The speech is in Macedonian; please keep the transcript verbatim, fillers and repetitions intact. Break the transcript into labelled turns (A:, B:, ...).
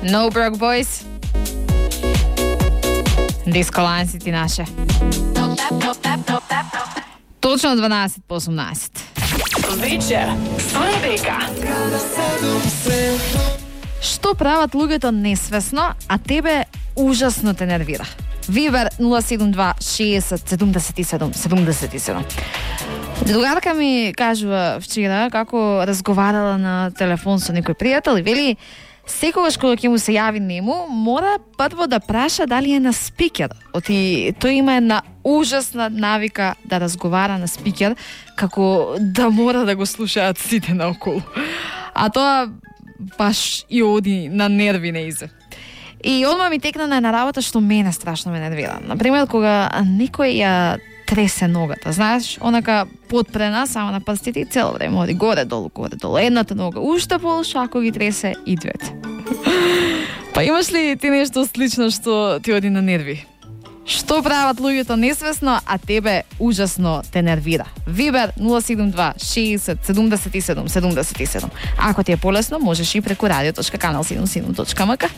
A: No Broke Boys. Диско Лайн си ти наше. Точно дванаесет по осумнаесет.
B: Вечер со Ребека.
A: Што прават луѓето несвесно, а тебе ужасно те нервира? Вибер нула седум два шесет седумдесет и седум седумдесет и седум. Другарка ми кажува вчера како разговарала на телефон со некој пријател и вели секогаш кога ќе му се јави нему, мора прво да праша дали е на спикер. Оти тој има една ужасна навика да разговара на спикер, како да мора да го слушаат сите наоколу. А тоа баш и оди на нерви неизе. И одма ми текна на една работа што мене страшно ме нервира. Например, кога некој ја тресе ногата, знаеш, онака подпрена само на прстите и цело време оди горе-долу, горе-долу. Едната нога уште полша, ако ги тресе и двете. Па имаш ли ти нешто слично што ти оди на нерви? Што прават луѓето несвесно, а тебе ужасно те нервира? Вибер нула седум два шесет седумдесет и седум седумдесет и седум. Ако ти е полесно, можеш и преку радио точка канал седумдесет и седум точка ем ка.